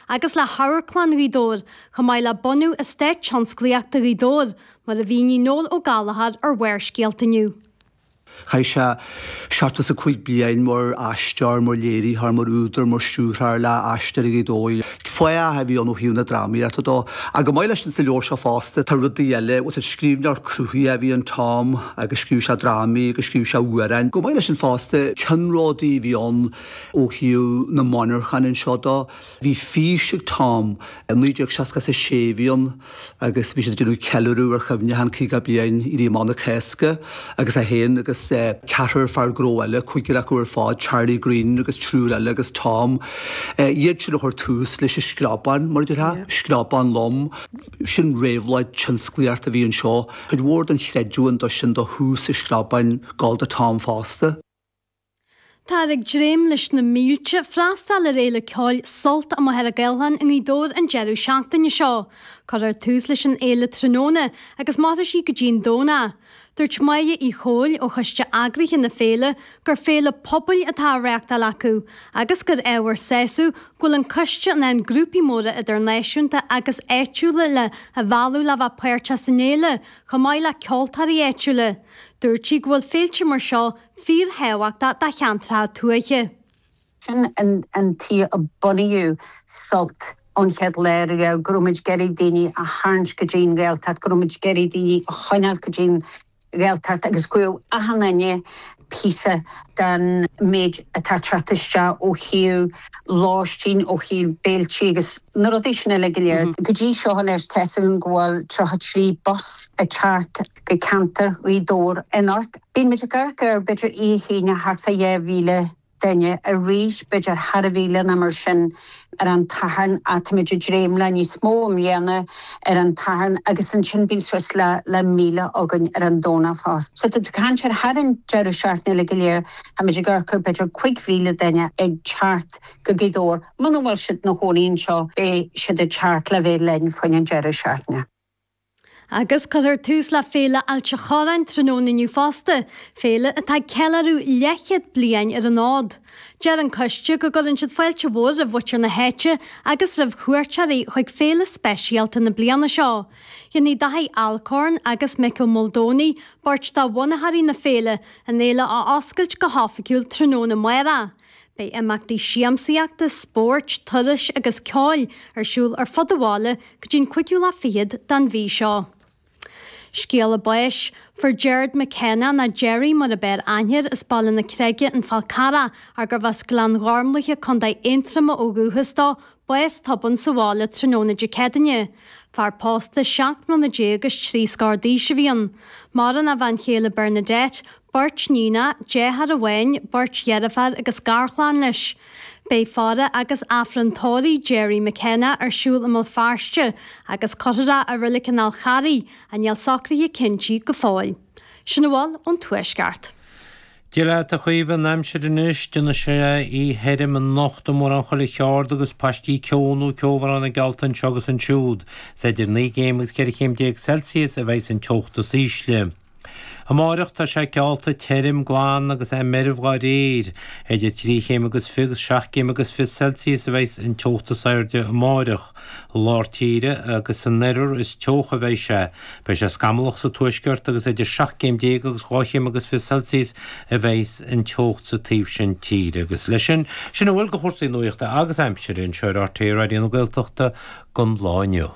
agus le hAmharclann Ghaoth Dobhair, chomh maith le bunú Eastát Tionsclaíochta Ghaoth Dobhair, mar a mhínigh Noel Ó Gallchóir ar Bharrscéalta inniu. Chaith sé 75 bliain mar aisteoir, mar léiritheoir, mar údar, mar stiúrthóir le Aisteoirí Ghaoth Dobhair. Fáidh a bhí ann ó thaobh na drámaíochta dó. Ach chomh maith leis sin sa leabhar seo fosta tá rudaí eile, bhuel scríbhneoir cruthaitheach a bhí in Tom agus scríobh sé drámaí agus scríobh sé amhráin. Chomh maith leis sin fosta ceannródaí a bhí ann ó thaobh na monarchan anseo dó. Bhí fís ag Tom, i 1966 a bhí ann agus bhí siad ag déanamh ceiliúradh ar chuimhneachán 50 bliain Éirí Amach na Cásca agus é féin agus ceathrar fear gnó eile, cúigear acu ar fad, Charlie Greene agus triúr eile agus Tom, iad sin a chuir tús leis an screabán, mar a déarfá, screabán lom. Sin réabhlóid tionsclaíochta a bhí anseo. Cuid mhór den chreidiúint dó sin do thús an screabáin ag gabháil do Tom fosta. Táthar ag dréim leis na mílte freastal ar fhéile ceoil Sult i Machaire Gathlán i nGaoth Dobhair an deireadh seachtaine seo. Cuirfear tús leis an fhéile tráthnóna agus mairfidh sí go dtí an Domhnach. Dúirt Máire Uí Chomhaill ó choiste eagraithe na féile gur féile pobail atá á reáchtáil acu agus gur ábhar sásaimh go bhfuil an coiste in ann grúpaí móra idirnáisiúnta agus áitiúla le a mhealladh le bheith páirteach san fhéile chomh maith le ceoltóirí áitiúla. Dúirt sí go bhfuil féilte mar seo fíorthábhachtach do cheantracha tuaithe. Sin an tuige a bunaíodh Sult ón chéad lá riamh, go raibh muid ag iarraidh daoine a tharraingt go dtí an Ghaeltacht, go raibh muid ag iarraidh daoine a choinneáil go dtí an Ghaeltacht agus go bhfaigheadh achan duine píosa den méid atá ag teacht isteach ó thaobh lóistín, ó thaobh béiltí agus na rudaí sin uilig go léir. Go dtí seo anois tá 'fhios againn go bhfuil 33 bus ag teacht go ceantar Ghaoth Dobhair anocht. Bíonn muid ag amharc ar b'fhéidir oíche Aoine thart fá 2,000 duine, arís b'fhéidir thar a mhíle nó mar sin ar an tSatharn ach táimid ag dréim le níos mó i mbliana ar an tSatharn agus ansin bíonn suas le le 1,000 againn ar an Domhnach fosta. So tá tú ag caint ar thar an deireadh seachtaine uilig go léir, táimid ag amharc ar b'fhéidir 5,000 duine ag teacht go Gaoth Dobhair. Muna bhfuil siad ina chónaí anseo beidh siad ag teacht le bheith linn faoin an deireadh seachtaine. Agus cuirfear tús le Féile Ailt a' Chorráin tráthnóna inniu fosta, féile atá ag ceiliúradh leathchéad bliain ar an fhód. Deir an coiste go gcuireann siad fáilte mhór roimh mhuintir na háite agus roimh chuairteoirí chuig féile speisialta na bliana seo. Déanfaidh Daithí Alcorn agus Mick Ó Maoldomhnaigh, beirt de bhunaitheoirí na féile, an fhéile a oscailt go hoifigiúil tráthnóna amárach. Beidh imeachtaí siamsaíochta, spóirt, turais agus ceoil ar siúl ar fud an bhaile go dtí an cúigiú lá fichead den mhí seo. Scéala báis, Fuair Gerard McKenna, nó Gerry mar ab fhearr aithne air, as Baile na Creige, An Fál Carrach, ach gurbh as Gleann Ghormlaithe, Co. Aontroma ó dhúchas dó, bás tobann sa bhaile tráthnóna Dé Céadaoine. Fear pósta 17 mbliana agus trí scór d'aois a bhí ann. Maireann a bhean chéile Bernadette, beirt níonacha, deartháir amháin, beirt dheirféar agus garchlann leis. Beidh faire agus Aifreann tórraimh Gerry McKenna ar siúl i mBéal Feirste agus cuirfear é i Reilig an Fháil Charraigh, ach níl socruithe cinntí go fóill. Sin a bhfuil ón Tuaisceart. Dia leat a Chaoimhe, an aimsir anois, déanfaidh sé oíche thirim anocht i mórán chuile cheard agus paistí ceo nó ceobhráin geallta anseo agus ansiúd. Is idir 9 gcéim agus 14 chéim Celsius a bheidhs an teocht is ísle. Amáireach tá sé geallta tirim, glan agus é meirbh dhá réir. Idir trí chéim agus fiche agus seacht gcéim agus fiche Celsius a bheidhs an teocht is airde amáireach. I lár tíre agus san oirthear is teocha a bheidh sé. Beidh sé scamallach sa tuaisceart agus idir 17 céim agus 2 chéim agus fiche Celsius a bheidhs an teocht sa taobh sin tíre. Agus leis sin, sin a bhfuil de chúrsaí nuachta agus aimsire anseo ar RTÉ Raidió na Gaeltachta don lá inniu.